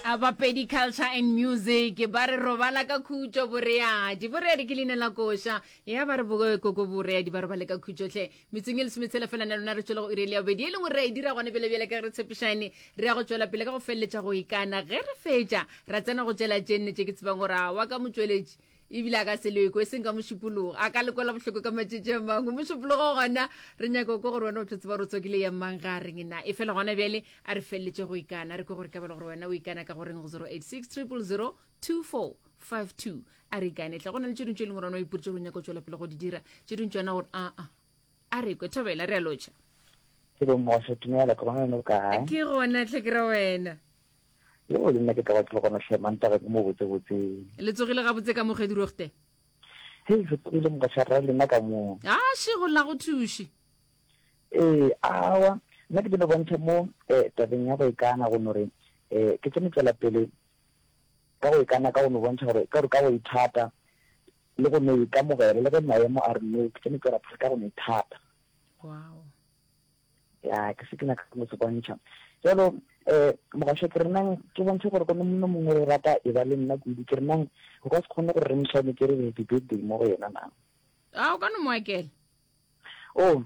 A Bapedi Culture and Music ba re robala ka khutšo boreadi. Boreadi ke leina la koša. Ya ba re bo koko boreadi ba robale ka khutšo hle. Metsong e lesometshela fela na lona re tšwele go iri ya bobedi e leng gore re a e dira gone bjale bjale ka ge re tshepišane re ya go tšwela pele ka go feleletša go ikana. Ge re fetša ra tsena go tšela tše nne tše ke tsebang gore a wa ka motšweletši ebile a ka se lekwe e seng ka mošupologo a ka lekwela bohloko ka matšatši a mangwe mošupologo gona re nyaka ko gore wena o tlo tseba gore o tswakile ya mang ga a reng na e fela gona bjale a re feleletše go ikana re kwe gore ka bele gore wena o ikana ka goreng go 086 000 2452 a re ikane tla go na le tše dingwe tše e leng gore wena o iporitše gore o nyaka go tšwela pele go di dira tše dingwe tšona gore aa a re kwe thobela re a lotšha Ke bo mmošo, dumela, ke gona wena o kae? Ke gona tlhe ke re wena. Yo le nna ke tla ba ke le gona hle mantaga ke mo botse botse. Le tsogile gabotse ka mo Gedirogte? Hei, re tsogile mogaša rra lena ka mo. A šego la go thuše. Ee, awa, nna ke dilo bontšha mo eh, tabeng ya go ikana go no re eh, ke tsene tswela pele ka go ikana ka go no bontšha gore ka gore ka go ithata le go no ikamogela le ge maemo a re no ke tsene tswela pele ka go no ithata. Wow. Ya, ke se ke nyaka go se bontšha. Jalo, eh, mogašo ke re nang ke bontšhe gore go monna mongwe re rata e ba le nna kudu. Ke re nang o ka se kgone gore re mošane ke re happy birthday mo go yena na. A o ka no mo akela. Oh,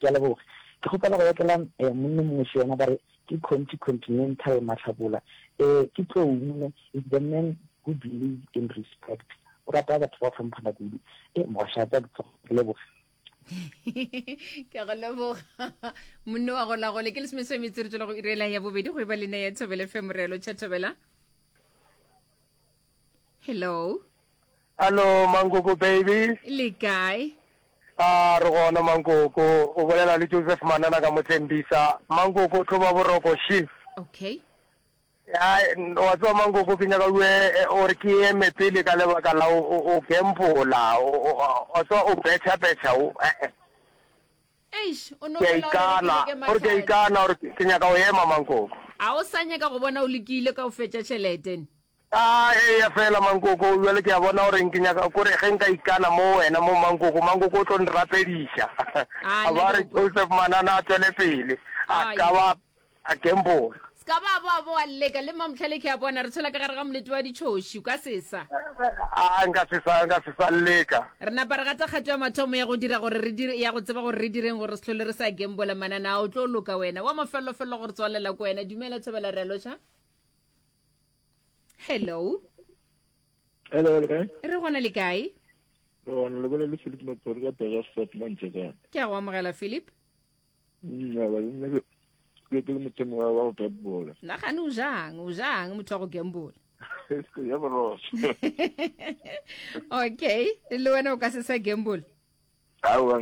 ke a leboga. Ke kgopela go akela eh, monna mongwe še yena ba re ke Conti Continental Mahlabola. Eh, ke tlou monna is the man who believes in respect. O rata batho ba hlomphana kudu. Eh, mogašo a tsa ke leboga. Ke go leboga monne wa go lagole ke lesomesome metse re tswela go irela ya bobedi go e ba lena ya thobele fe morelo tšha thobela hello Hallo Mankoko baby. Le kae? A re gona Mankoko, o bolela le Joseph Manana ka Motlembisa. Mankoko tlo ba boroko shi. Okay. Ya, wa tseba Mankoko ke nyaka o ore ke eme pele ka lebaka la o gambola, wa tseba o betšha betšha o eh. Eish, o no Ke a fela o re ikana, ke leke gore ke a mahlatse. ikana gore ke nyaka o ema Mankoko. A o sa nyaka go bona o lekile ka o fetša tšhelete ne? A eya fela Mankoko, bjale ke a bona gore ke nyaka kore ge nka ikana mo wena mo Mankoko, Mankoko o tlo nrapediša. A A nna ba ke re go Joseph Manana a tšwele pele, a Ai. ka ba a gamble. Se ka ba ba boa leka le Mamhlale ke a bona re tshwela ka gare ga molete wa ditšhoši, o ka se sa. A nka se sa, nka se sa leka. Re napa re gata kgato ya mathomo ya go dira gore re dire, ya go tseba gore re direng gore re se hlole re sa gambola Manana, a o tlo loka wena. Wa mafellofello go re tswalela ko wena. Dumela Thobela re a lotšha. Hello. Hello, le kae? Re gona le kae? Re gona le bolela le Philip Matsori ka Pegersfort mo Ntšekane. Ke a go amogela Philip. Nna ba nna ke ke ke le motho wa wa go gambola. Nagane o jang, o jang motho wa go gambola. Ya borotho. Okay, le wena o ka se sa gamble. Aowa.